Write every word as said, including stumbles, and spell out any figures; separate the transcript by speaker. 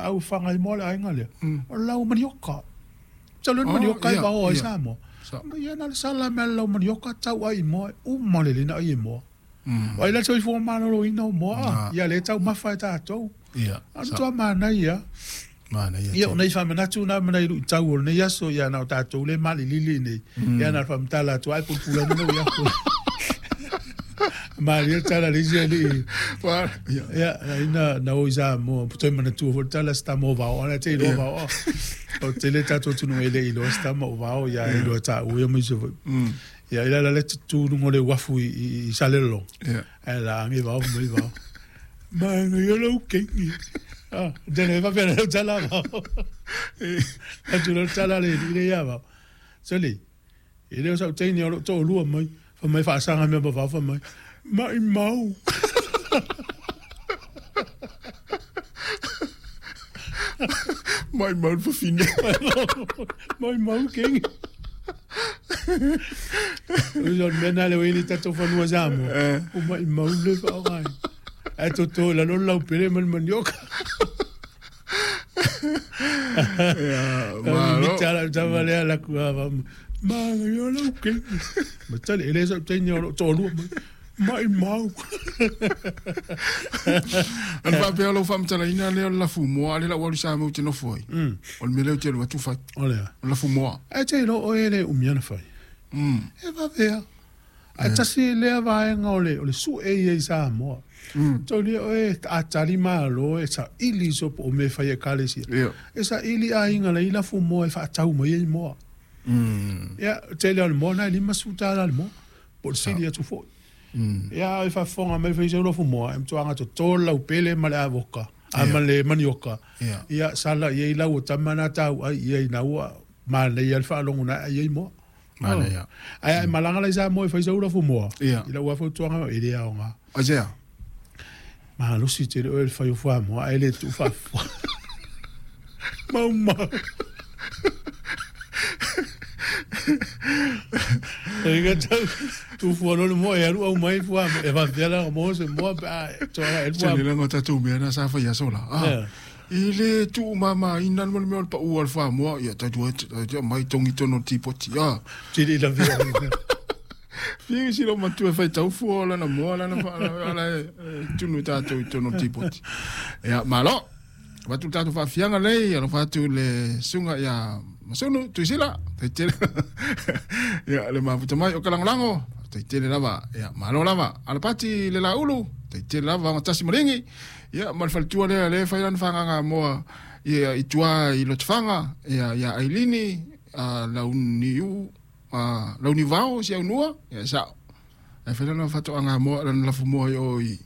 Speaker 1: au whangai mo le ainga lea. O lau manioka. Sa le
Speaker 2: Oh,
Speaker 1: manioka i
Speaker 2: ia,
Speaker 1: vao ai
Speaker 2: ia.
Speaker 1: Samoa.
Speaker 2: Sa.
Speaker 1: Ia na le sala mea lau manioka tau ai moa, uma le lina ai moa.
Speaker 2: Mm.
Speaker 1: O ai la soifua malōlōina o moa,
Speaker 2: Ah.
Speaker 1: ia le tau mafa e tātou.
Speaker 2: Ia.
Speaker 1: A
Speaker 2: Sa.
Speaker 1: matua manaia.
Speaker 2: Manaia
Speaker 1: Ia,
Speaker 2: tele.
Speaker 1: o nei faamanatu na ma nei luitau o lenei aso, ia na o tātou le malilili nei. Ia na faamatala atu ai pulapula mana ia ko. Malia tala le isi alii.
Speaker 2: Wa- ia.
Speaker 1: Ia, na ina na o i Samoa, toe manatua foi le tala se tama o vao, ana te iloa
Speaker 2: Ia.
Speaker 1: vao. O tele tātou atunuu e le iloa se tama o vao, ia e iloa tāua ia ma isi foi.
Speaker 2: Mm.
Speaker 1: Ia, i la le tutū luga o le uafu i, i, i Salelologa.
Speaker 2: Ia.
Speaker 1: Ae laagi vao mai vao. Maga ia lau keiki. Ah, tele e faapea lau tala vao. Atu lau tala le alii le ia vao. Sole, e le o sau teine o loo toalua mai. Fai mai faasaga mea ma vao fai mai. Mai mau.
Speaker 2: Mai mau le fafine.
Speaker 1: Mai mau keiki. O le mea na le o ili tatou fanua Samoa.
Speaker 2: Eh.
Speaker 1: O mai mau le faaaoga ai. Ae toto i lalo le laupele ma le manioka.
Speaker 2: Ia, malo.
Speaker 1: Mita la tama lea laku a maga ia lau keiki. Ma tali, e le sau teine o loo toalua mai. Mai mau.
Speaker 2: Ana faapea o lou faamatalaina lea o le lafumoa a le lau alu i Samoa ou te nofo ai.
Speaker 1: Mm.
Speaker 2: O le mea lea ou te alu atu fai.
Speaker 1: O lea.
Speaker 2: O le lafumoa.
Speaker 1: Ae te iloa oe e le umia na fai.
Speaker 2: Mm.
Speaker 1: E vavea. Ae tasi lea vaega o le, o le su'e ia i Samoa.
Speaker 2: Mm.
Speaker 1: Taulia oe a tali malo e saili so po o mea e fai e ekalesia.
Speaker 2: Ia.
Speaker 1: E saili aiga lai lafumoa e faatau mai ai moa.
Speaker 2: Mm.
Speaker 1: Ia, tele o le moa na e lima sefulu tālā le moa. Po o le sili atu foi.
Speaker 2: Mm.
Speaker 1: Ia, e faafofoga mai fai sau lafumoa, e matuaga totō le laupele ma le avoka, a
Speaker 2: Ia.
Speaker 1: ma le manioka.
Speaker 2: Ia.
Speaker 1: Ia, sala i ai lau o tama na tau ai ia ina ua manaia le faalogo na ai ai moa.
Speaker 2: Manaia.
Speaker 1: Ae ai malaga la i Samoa e fai sau lafumoa.
Speaker 2: Ia.
Speaker 1: I lau fautuaga e le aoga.
Speaker 2: Aisea.
Speaker 1: Malosi tele oe le fai o fuamoa ae le tuu faafofoa. Maumau. E tau tufua loa le moa e alu au mai fuamoa. E faapea la mo se moa pe a toaga e le
Speaker 2: Tele
Speaker 1: fuamoa.
Speaker 2: laga o tatou mea na sa fai aso la. Ah.
Speaker 1: Ia.
Speaker 2: I le tuumamaina le mea o le paua o le fuamoa, ia tatou e tatou mai togi tonu o le tipoti. Ah.
Speaker 1: Tili la via.
Speaker 2: Fia si lo matua e faitau fua o lana moa lana ala e tunu tātou i tonu o le tipoti. Ia, malo. Avatu le tatou faafiaga lei, alofa atu le suga ia Masunu, Tuisila, taitele. Ia, le mafuta mai o kalagolago, taitele lava. Ia, malo lava. Alapati le laulu, taitele lava gatasi maligi. Ia, ma le faletua lea le fai lana fagaga moa ia i tua i Lotofaga, ia ia Ailini, a Launiu, a Launivao si aunua, ia sa'o. Ae fai lana fatoaga moa lana lafumoa i o i